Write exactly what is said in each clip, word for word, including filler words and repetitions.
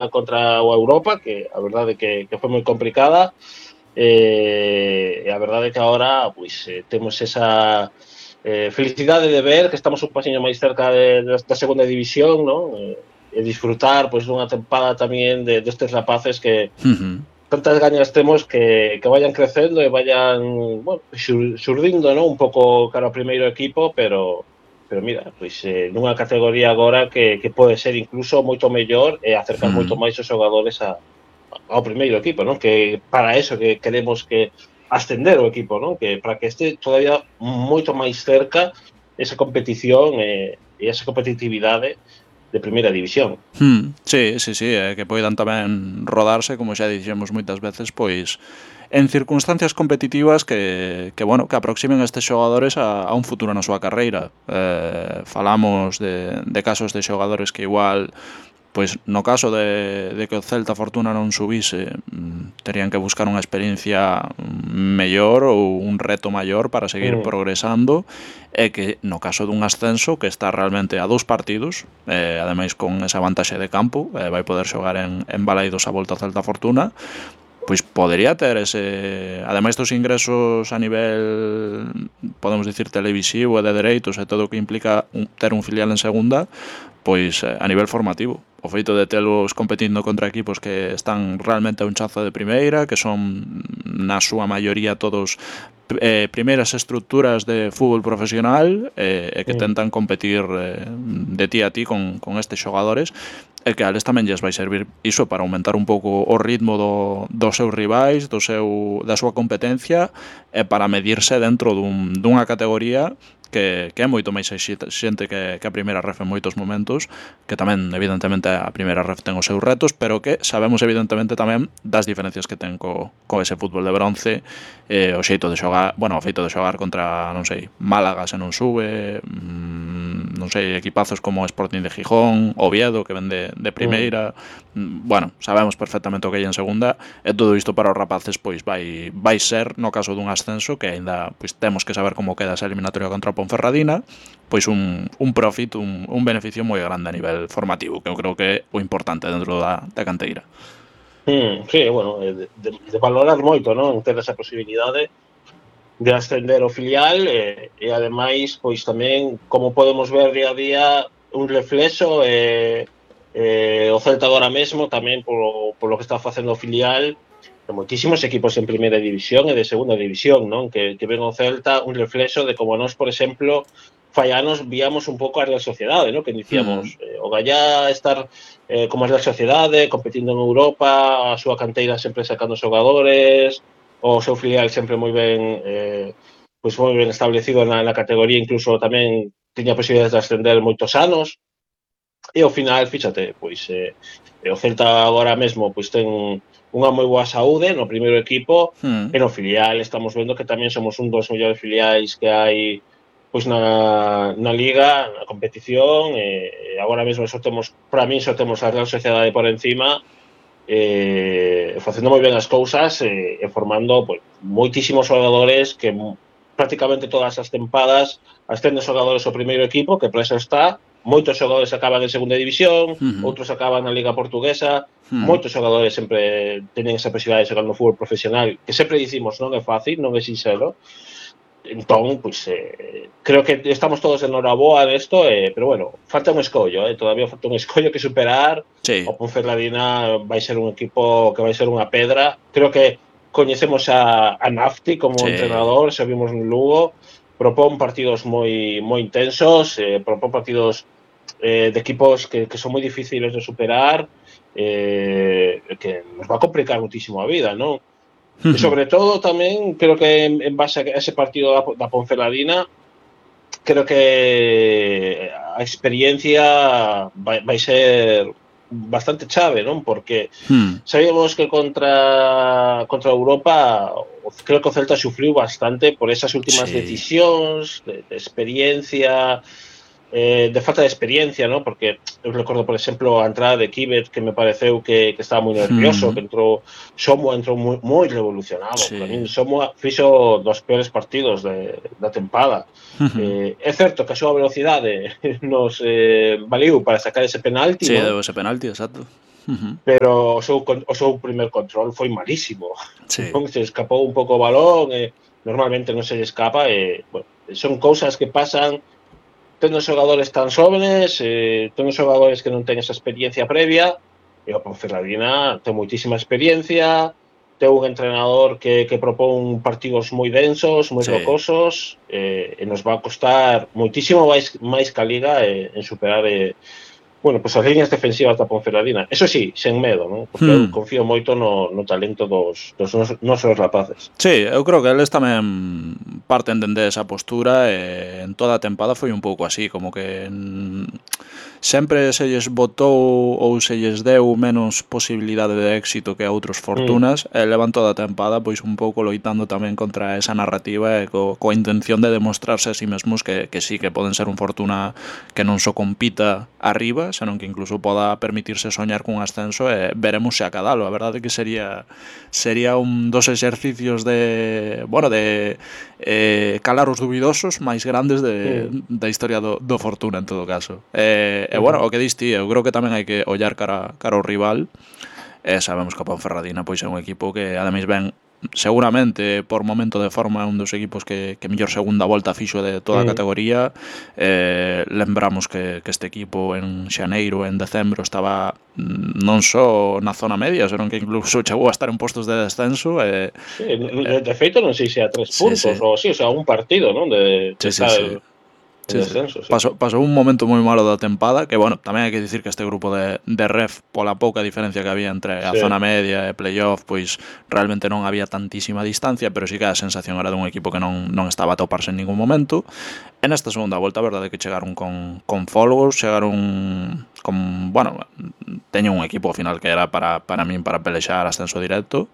contra o Europa, que a verdade que, que foi moi complicada, e a verdade que agora pois, eh, temos esa eh, felicidade de ver que estamos un pasiño máis cerca de, de, da segunda división, non? E, e disfrutar pois, dunha tempada tamén de, destes rapaces que Uh-huh. tantas gañas temos que, que vayan crecendo e vayan bueno, xur, xurdindo, non? Un pouco cara ao primeiro equipo, pero pero mira, pois eh, nunha categoría agora que, que pode ser incluso moito mellor e acercar Uh-huh. moito máis os xogadores a, ao primeiro equipo, non? Que para eso que queremos que ascender o equipo, non? Que para que este todavía moito máis cerca esa competición e, e esa competitividade de primeira división. Hmm, sí, sí, sí, eh, que poidan tamén rodarse, como xa dixemos moitas veces, pois en circunstancias competitivas que, que bueno, que aproximen estes xogadores a, a un futuro na súa carreira. Eh, falamos de, de casos de xogadores que igual, pois no caso de, de que o Celta Fortuna non subise, terían que buscar unha experiencia mellor ou un reto maior para seguir Mm. progresando, e que no caso dun ascenso que está realmente a dous partidos, eh, ademais con esa vantaxe de campo, eh, vai poder xogar en, en Balaidos a volta ao Celta Fortuna, pois podería ter ese, ademais dos ingresos a nivel, podemos dicir, televisivo e de dereitos e todo o que implica un, ter un filial en segunda, pois a nivel formativo. O feito de telos competindo contra equipos que están realmente a un chazo de primeira, que son na súa maioría todos eh, primeiras estructuras de fútbol profesional, eh, e que tentan competir eh, de ti a ti con, con estes xogadores, e que a eles tamén lles vai servir iso para aumentar un pouco o ritmo do, dos seus rivais, do seu, da súa competencia, e para medirse dentro dun, dunha categoría que, que é moito máis exigente que, que a primeira ref en moitos momentos, que tamén evidentemente a primeira ref ten os seus retos, pero que sabemos evidentemente tamén das diferencias que ten co, co ese fútbol de bronce, eh, o xeito de xogar, bueno, o feito de xogar contra, non sei, Málaga se non sube, mmm, non sei, equipazos como Sporting de Gijón, Oviedo que ven de, de primeira, mm. bueno, sabemos perfectamente o que hai en segunda, e todo isto para os rapaces pois vai vai ser, no caso dun ascenso, que aínda pois temos que saber como queda esa eliminatoria contra o Ponferradina, pois un, un profit, un, un beneficio moi grande a nivel formativo, que eu creo que é o importante dentro da, da canteira. Mm, sí, bueno, de, de, de valorar moito, non? Ter esa posibilidade de ascender o filial e, e ademais, pois tamén, como podemos ver día a día, un reflexo e eh, o Celta agora mesmo tamén polo, polo que está facendo o filial de moitísimos equipos en primeira división e de segunda división, non? Que, que ven o Celta un reflexo de como nós, por exemplo, fai anos víamos un pouco a Real Sociedade, non? Que dicíamos, mm. eh, o Gallá estar eh, como a Real Sociedade, competindo en Europa, a súa canteira sempre sacando xogadores, o seu filial sempre moi ben eh, pois moi ben establecido na, na categoría, incluso tamén tiña posibilidades de ascender moitos anos, e ao final, fíxate, pois eh, o Celta agora mesmo pois ten unha moi boa saúde no primeiro equipo, mm. e no filial estamos vendo que tamén somos un dos mellores filiais que hai pois na, na liga, na competición, e agora mesmo só temos, para mí só temos a Real Sociedade por encima, eh, facendo moi ben as cousas e, e formando pois, moitísimos xogadores que prácticamente todas as tempadas ascenden xogadores ao primeiro equipo, que para eso está. Moitos xogadores acaban en segunda división, uh-huh. outros acaban na Liga Portuguesa, uh-huh. moitos xogadores sempre teñen esa posibilidade de xogar no fútbol profesional, que sempre dicimos non é fácil, non é sincero. Entón, pois, eh, creo que estamos todos en horaboa nesto, eh, pero bueno, falta un escollo, eh, todavía falta un escollo que superar. Sí. O Ponferradina vai ser un equipo que vai ser unha pedra. Creo que coñecemos a, a Nafti como sí. entrenador, xa vimos no Lugo, propón partidos moi moi intensos, eh, propón partidos eh, de equipos que, que son moi difíciles de superar, eh, que nos va a complicar muchísimo a vida, non? Uh-huh. E sobre todo tamén, creo que en, en base a ese partido da, da Ponferradina, creo que a experiencia vai, vai ser bastante chave, non? Porque hmm. sabíamos que contra contra Europa creo que o Celta sufriu bastante por esas últimas sí. decisións de, de experiencia, eh, de falta de experiencia, ¿no? Porque eu recordo, por exemplo, a entrada de Kibet, que me pareceu que, que estaba moi nervioso, hmm. que entrou Somo entrou moi, moi revolucionado. Sí. Para mí Somo fixo dos peores partidos de, da tempada. Uh-huh. Eh, é certo que a súa velocidade nos eh, valiu para sacar ese penalti, sí, ¿no? ese penalti, exacto. Uh-huh. pero o seu, o seu primer control foi malísimo. Sí. Non se escapou un pouco o balón, e normalmente non se lle escapa, e bueno, son cousas que pasan tendo xogadores tan xóvenes, eh, tendo xogadores que non ten esa experiencia previa, e o Ponferradina ten moitísima experiencia, ten un entrenador que, que propón partidos moi densos, moi Sí. rocosos, eh, e nos va a costar moitísimo máis, máis que a Liga eh, en superar eh, bueno, pues as liñas defensivas da Ponferradina. Eso sí, sen medo, non? Porque eu Hmm. confío moito no, no talento dos, dos nos, nosos rapaces. Sí, eu creo que eles tamén parten dende esa postura, e en toda a tempada foi un pouco así, como que mm, sempre se lles botou ou se lles deu menos posibilidade de éxito que a outros Fortunas, mm. e levan toda a tempada pois un pouco loitando tamén contra esa narrativa e co, coa intención de demostrarse a sí mesmos que, que sí, que poden ser un Fortuna que non só compita arriba, senón que incluso poda permitirse soñar cun ascenso, e veremos se acadalo. A verdade que sería sería un dos exercicios de, bueno, de eh, calar os dubidosos máis grandes de, mm. da historia do, do Fortuna, en todo caso. E, e bueno, o que dis ti, eu creo que tamén hai que ollar cara, cara ao rival, e sabemos que a Ponferradina pois é un equipo que ademais ven seguramente por momento de forma un dos equipos que, que mellor segunda volta fixo de toda a mm. categoría. eh, lembramos que, que este equipo en xaneiro, en decembro estaba non só na zona media, senón que incluso chegou a estar en postos de descenso. eh, Sí, de, de feito non sei se a tres puntos, sí, sí. ou sí, o sea, un partido, non? De, de sí, sí, estar sí. Sí, descenso, sí. Sí. Pasou, pasou un momento moi malo da tempada, que, bueno, tamén hai que dicir que este grupo de, de ref, pola pouca diferencia que había entre a sí. zona media e playoff, pois realmente non había tantísima distancia, pero sí que a sensación era dun equipo que non, non estaba a toparse en ningún momento. En esta segunda volta, a verdade é que chegaron con, con folgos, chegaron con, bueno, teño un equipo ao final que era para, para min para pelexar ascenso directo,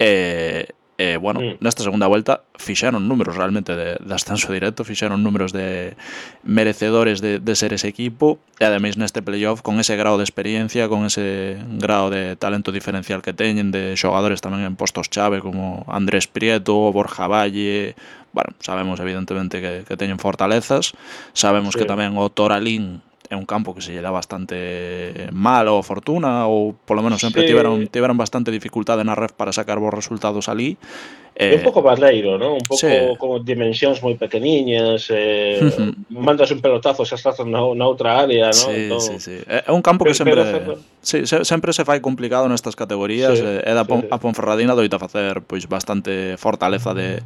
e Eh, bueno, mm. nesta segunda volta fixeron números realmente de, de ascenso directo, fixeron números de merecedores de, de ser ese equipo, e ademais neste playoff con ese grado de experiencia, con ese grado de talento diferencial que teñen, de xogadores tamén en postos chave como Andrés Prieto, Borja Valle. Bueno, sabemos evidentemente que, que teñen fortalezas, sabemos sí. que tamén o Toralín é un campo que se lle dá bastante mal ao Fortuna, ou polo menos sempre sí. tiveron, tiveron bastante dificultade na ref para sacar bons resultados ali. É un pouco barreiro, non? Un pouco sí. como dimensións moi pequeniñas, eh, uh-huh. mandas un pelotazo xa estás na, na outra área, non? Sí, entón, sí, sí. É un campo que pero, sempre pero, sí, se, sempre se fai complicado nestas categorías, sí, e da Pon, sí, sí. a Ponferradina doita facer pois bastante fortaleza de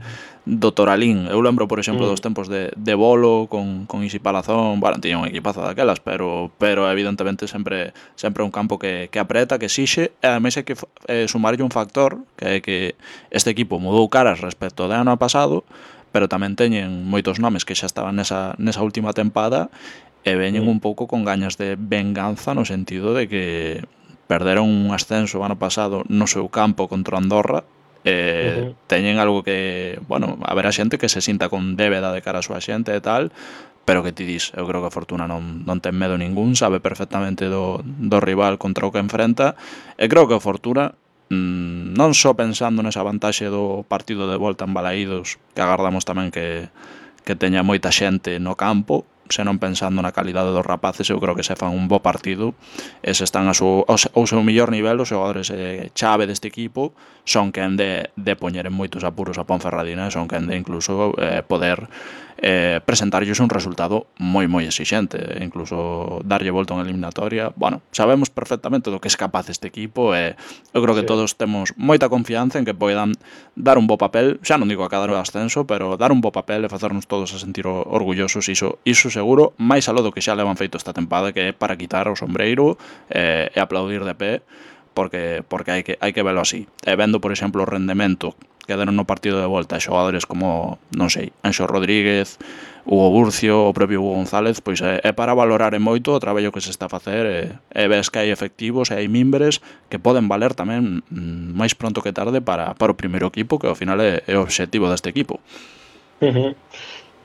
do Toralín. Eu lembro, por exemplo, mm. dos tempos de, de Bolo con, con Isi Palazón, bueno, tiña un equipazo daquelas, pero pero evidentemente sempre sempre un campo que, que apreta, que exixe, e ademais hai que eh, sumarlle un factor, que é que este equipo mudou caras respecto do ano pasado, pero tamén teñen moitos nomes que xa estaban nesa, nesa última tempada, e veñen mm. un pouco con gañas de venganza, no sentido de que perderon un ascenso o ano pasado no seu campo contra Andorra, e uh-huh. teñen algo que, bueno, haberá xente que se sinta con débeda de cara a súa xente e tal, pero que ti dis, eu creo que a Fortuna non, non ten medo ningún, sabe perfectamente do, do rival contra o que enfrenta, e creo que a Fortuna mmm, non só pensando nesa vantaxe do partido de volta en Balaídos, que agardamos tamén que, que teña moita xente no campo, senón pensando na calidade dos rapaces, eu creo que se fan un bo partido, e se están a súa, ao seu mellor nivel, os xogadores eh, chave deste equipo son quen de, de poñer en moitos apuros a Ponferradina, son quen de incluso eh, poder eh, presentarlles un resultado moi moi exixente, incluso darlle volta unha eliminatoria. Bueno, sabemos perfectamente do que é capaz este equipo, e eu creo que sí. todos temos moita confianza en que poidan dar un bo papel, xa non digo a cada ascenso, pero dar un bo papel e facernos todos a sentir orgullosos, iso, iso seguro, máis aló do que xa levan feito esta tempada, que é para quitar o sombreiro eh, e aplaudir de pé, porque porque hai que hai que velo así. E vendo, por exemplo, o rendemento que deron no partido de volta a xogadores como, non sei, Anxo Rodríguez, Hugo Burcio, o propio Hugo González, pois é, é para valorar en moito o traballo que se está a facer, e, e ves que hai efectivos e hai mimbres que poden valer tamén mm, máis pronto que tarde para, para o primeiro equipo, que ao final é, é o obxectivo deste equipo. Uh-huh.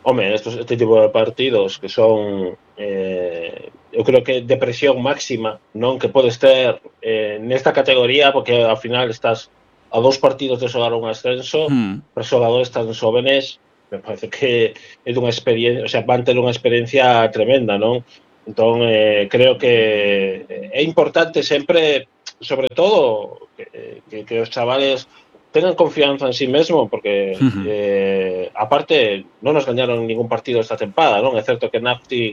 Home, estos, este tipo de partidos que son eh, eu creo que de presión máxima, non, que podes ter eh, nesta categoría, porque ao final estás a dous partidos de xogar un ascenso, hmm. para xogadores tan xóvenes, me parece que é dunha experiencia, o sea, van ter unha experiencia tremenda, non? Entón, eh, creo que é importante sempre, sobre todo, que, que, que os chavales tengan confianza en sí mesmo, porque, Uh-huh. eh, aparte, non nos gañaron ningún partido esta tempada, non? É certo que Nafti,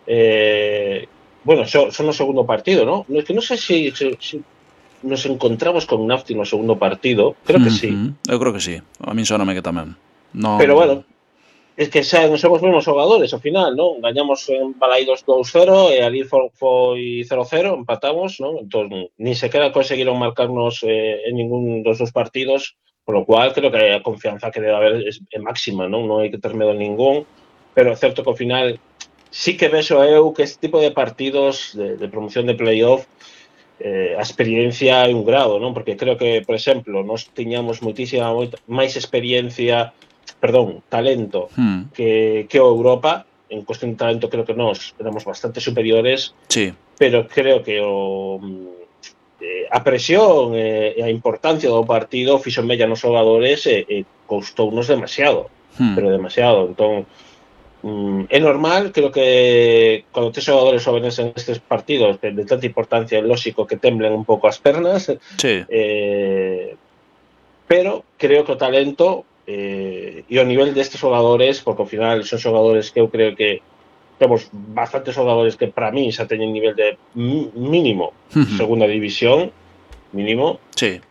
eh, bueno, son, son o segundo partido, non? É que non sei se, se, se nos encontramos con Nafti no segundo partido, creo que sí. Uh-huh. Eu creo que sí, a min soname que tamén. Non... Pero, bueno, es que xa non somos mesmos xogadores ao final, non? Gañamos en Balaidos dous cero e ali foi cero cero, empatamos, non? Entón, ni sequera conseguiron marcarnos eh, en ningún dos dos partidos, por lo cual creo que a confianza que debe haber é, é máxima, non? Non hai que ter medo ningún, pero é certo que ao final sí que vexo eu que este tipo de partidos de, de promoción de playoff eh, a experiencia é un grado, non? Porque creo que, por exemplo, nós tiñamos moitísima moita, máis experiencia, perdón, talento hmm. que, que o Europa. En cuestión de talento creo que nós éramos bastante superiores, sí. Pero creo que o, eh, a presión e eh, a importancia do partido fixo mella nos xogadores e, e coustounos demasiado, hmm. pero demasiado. Entón, Mm, é normal, creo que cando tes xogadores jóvenes en estes partidos de, de tanta importancia, é lógico que temblen un pouco as pernas, sí. eh, pero creo que o talento eh, e o nivel destes xogadores, porque ao final son xogadores que eu creo que temos bastantes xogadores que para mí xa teñen nivel de mínimo segunda división, mínimo, sí.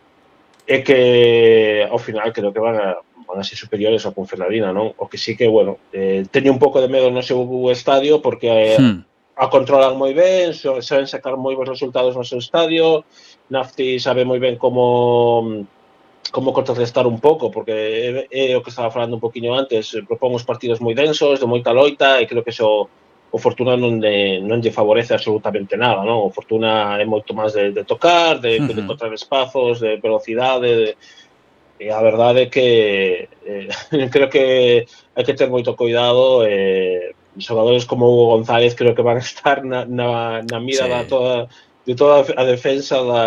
é que ao final creo que van a van a ser superiores ao Ponferradina, non? O que sí que, bueno, eh, teño un pouco de medo no seu estadio porque eh, hmm. a controlan moi ben, saben sacar moi bons resultados no seu estadio, Nafti sabe moi ben como como contrarrestar un pouco, porque é, é o que estaba falando un poquinho antes, propón os partidos moi densos, de moita loita, e creo que eso o Fortuna non, de, non lle favorece absolutamente nada, non? O Fortuna é moito máis de, de tocar, de, uh-huh. de encontrar espazos, de velocidade, de, e a verdade é que eh, creo que hai que ter moito cuidado, eh, xogadores como Hugo González creo que van a estar na, na, na mira sí. da toda, de toda a defensa da,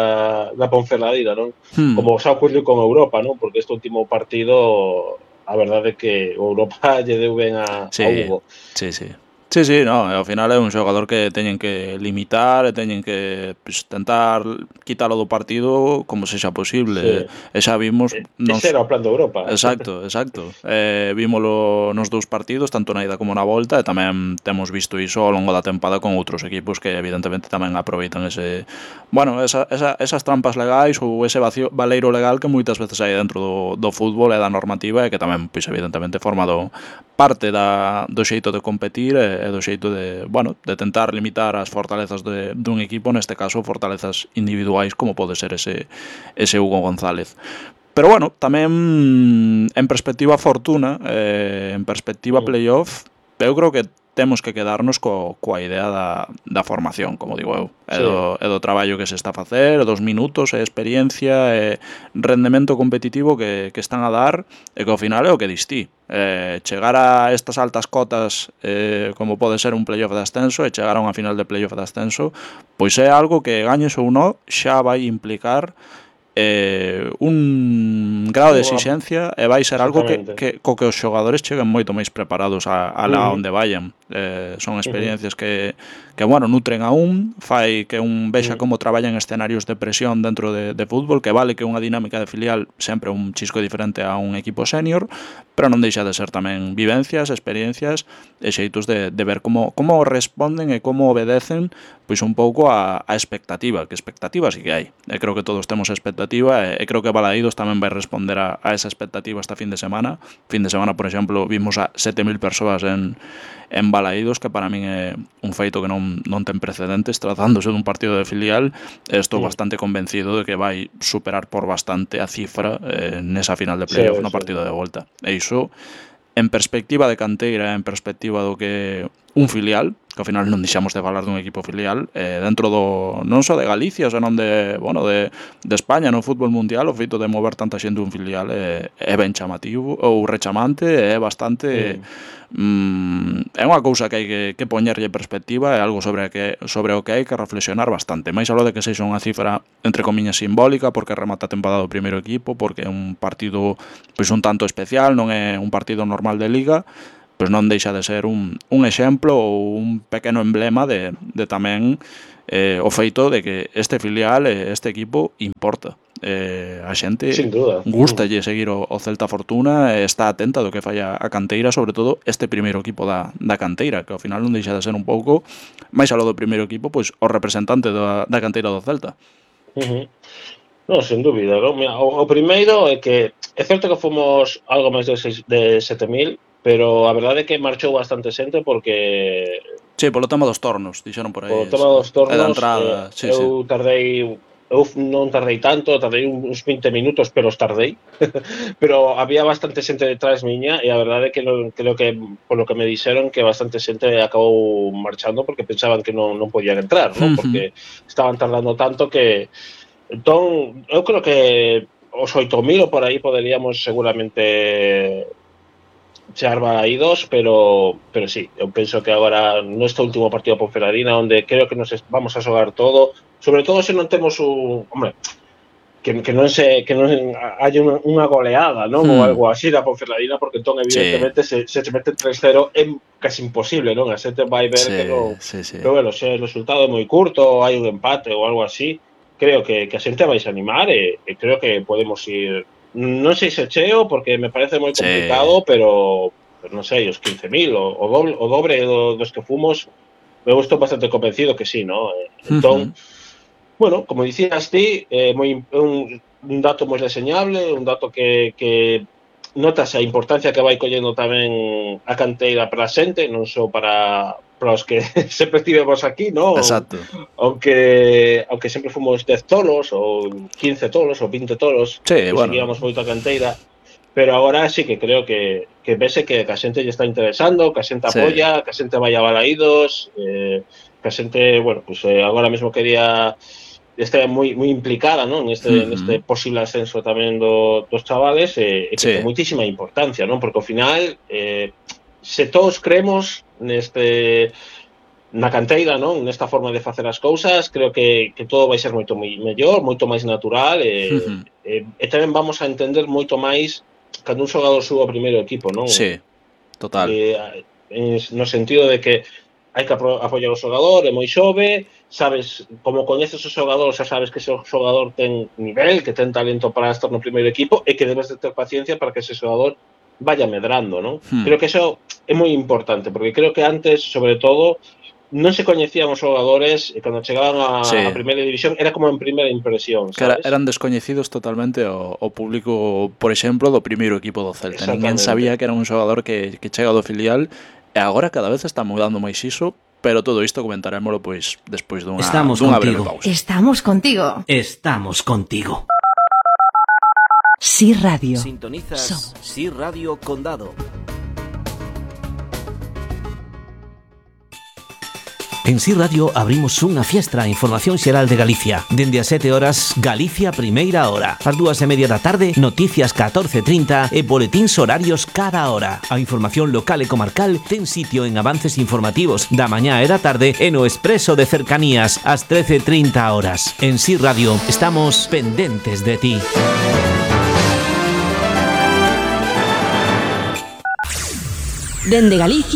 da Ponferradina, non? Hmm. Como xa ocurriu con Europa, non? Porque este último partido a verdade é que o Europa lle deu ben a, sí. a Hugo. Sí, sí. Sí, sí, no, ao final é un xogador que teñen que limitar e teñen que pues, tentar quitalo do partido como sexa posible. Sí. E xa vimos... Nos... Ese era o plan de Europa. Exacto, exacto. Eh, vímolo nos dous partidos, tanto na ida como na volta, e tamén temos visto iso ao longo da tempada con outros equipos que evidentemente tamén aproveitan ese... Bueno, esa, esa, esas trampas legais ou ese vacío, valeiro legal que moitas veces hai dentro do, do fútbol e da normativa e que tamén, pois, evidentemente, forma do, parte da, do xeito de competir e, e do xeito de, bueno, de tentar limitar as fortalezas de, dun equipo, neste caso fortalezas individuais como pode ser ese, ese Hugo González. Pero bueno, tamén en perspectiva Fortuna, eh, en perspectiva playoff, eu creo que temos que quedarnos co, coa idea da, da formación, como digo eu, sí. e, do, e do traballo que se está a facer, dos minutos, e experiencia, e rendemento competitivo que, que están a dar, e que ao final é o que distí. Eh, chegar a estas altas cotas, eh, como pode ser un playoff de ascenso, e chegar a unha final de playoff de ascenso, pois é algo que, gañes ou non, xa vai implicar eh, un grado de exixencia e vai ser algo que, que, co que os xogadores cheguen moito máis preparados a, a lá uh-huh. onde vayan. Eh, son experiencias uh-huh. que, que, bueno, nutren a un, fai que un vexa uh-huh. como traballan escenarios de presión dentro de, de fútbol, que vale que unha dinámica de filial sempre un chisco diferente a un equipo senior, pero non deixa de ser tamén vivencias, experiencias e xeitos de, de ver como, como responden e como obedecen pois un pouco a, a expectativa, que expectativa sí que hai. E creo que todos temos expectativa e, e creo que Balaídos tamén vai responder a, a esa expectativa esta fin de semana. Fin de semana, por exemplo, vimos a sete mil persoas en, en Balaídos, que para min é un feito que non, non ten precedentes tratándose dun partido de filial. Estou sí. bastante convencido de que vai superar por bastante a cifra eh, nesa final de playoff sí, no partido sí. de volta. E iso, en perspectiva de canteira, en perspectiva do que un filial, que ao final non deixamos de falar dun equipo filial, eh, dentro do, non só de Galicia, senón de, bueno, de, de España no fútbol mundial, o feito de mover tanta xente un filial é, é ben chamativo, ou rechamante, é bastante... Sí. Mm, é unha cousa que hai que, que poñerlle perspectiva, é algo sobre, que, sobre o que hai que reflexionar bastante, máis aló de que sexa unha cifra entre comiñas simbólica, porque remata a temporada do primeiro equipo, porque é un partido pois un tanto especial, non é un partido normal de liga, pois non deixa de ser un, un exemplo ou un pequeno emblema de, de tamén eh, o feito de que este filial, este equipo, importa. Eh, a xente gustalle seguir o, o Celta Fortuna e está atenta do que fai a, a canteira, sobre todo este primeiro equipo da, da canteira, que ao final non deixa de ser un pouco, máis aló do primeiro equipo, pois o representante da, da canteira do Celta. Uh-huh. Non, sen dúbida, non? O, o primeiro é que é certo que fomos algo máis de, de sete mil, pero a verdade é que marchou bastante xente porque... Sí, polo tema dos tornos, dixeron por aí. Polo tema dos tornos, da entrada, eh, sí, eu sí. tardei... Eu non tardei tanto, tardei uns vinte minutos, pero os tardei. Pero había bastante xente detrás miña e a verdade é que non, creo que, polo que me dixeron, que bastante xente acabou marchando porque pensaban que non, non podían entrar, non? Porque estaban tardando tanto que... Entón, eu creo que os oito mil ou por aí poderíamos seguramente chegar balaídos, pero pero sí, eu penso que agora neste último partido por Ponferradina, onde creo que nos vamos a xogar todo, sobre todo se non temos un, hombre, que, que non se que non hai unha, unha goleada, non? Hmm. Ou algo así da Ponferradina, porque entón evidentemente sí. se, se mete tres cero é casi imposible, non? A xente vai ver sí, que non. Sí, sí. Pero bueno, se o resultado é moi curto, hai un empate ou algo así, creo que, que a xente vai se animar e, e creo que podemos ir. Non sei se cheo, porque me parece moi complicado, sí. pero, pero non sei, os quince mil, o, o doble, o dobre do, dos que fomos, me estou bastante convencido que sí, ¿no? Entón, uh-huh. bueno, como dicías ti, eh, moi, un, un dato moi reseñable, un dato que, que notas a importancia que vai collendo tamén a canteira para a xente, non só para... para os que sempre estivemos aquí, ¿no? Exacto. Aunque, aunque sempre fomos dez tolos, ou quince tolos, ou vinte tolos, sí, bueno. Seguíamos moito a canteira, pero agora sí que creo que, que vese que a xente lle está interesando, que a xente apoia, sí. que a xente vai a balaídos, eh, que a xente, bueno, pues eh, agora mesmo quería está moi moi implicada, ¿no? En este, uh-huh. neste posible ascenso tamén do, dos chavales, e eh, que sí. ten moitísima importancia, ¿no? Porque ao final, eh, se todos creemos neste na canteira, non? Nesta forma de facer as cousas, creo que, que todo vai ser moito moi mellor, moito máis natural e, uh-huh. e, e tamén vamos a entender moito máis cando un xogador suba ao primeiro equipo, non? Sí, total. E, no sentido de que hai que apoiar o xogador, é moi xove, sabes, como coñeces o xogador, xa sabes que ese xogador ten nivel, que ten talento para estar no primeiro equipo e que debes de ter paciencia para que ese xogador vaya medrando, non? Hmm. Creo que eso é moi importante, porque creo que antes, sobre todo, non se coñecían os xogadores e cando chegaban a, sí. a primeira división era como en primeira impresión, sabes? Que era, eran descoñecidos totalmente o, o público, por exemplo, do primeiro equipo do Celta. Ninguén sabía que era un xogador que, que chega do filial e agora cada vez está mudando máis iso, pero todo isto comentarémolo pois despois dunha, Estamos dunha contigo. breve pausa. Estamos contigo. Estamos contigo. Sí Radio. Sintonizas Somos. Sí Radio Condado. En Sí Radio abrimos unha fiestra a información xeral de Galicia. Dende as sete horas, Galicia Primeira Hora. Ás dúas e media da tarde, noticias catorce trinta e boletíns horarios cada hora. A información local e comarcal ten sitio en avances informativos da mañá e da tarde e no Expreso de Cercanías ás trece trinta horas. En Sí Radio estamos pendentes de ti. Dende Galicia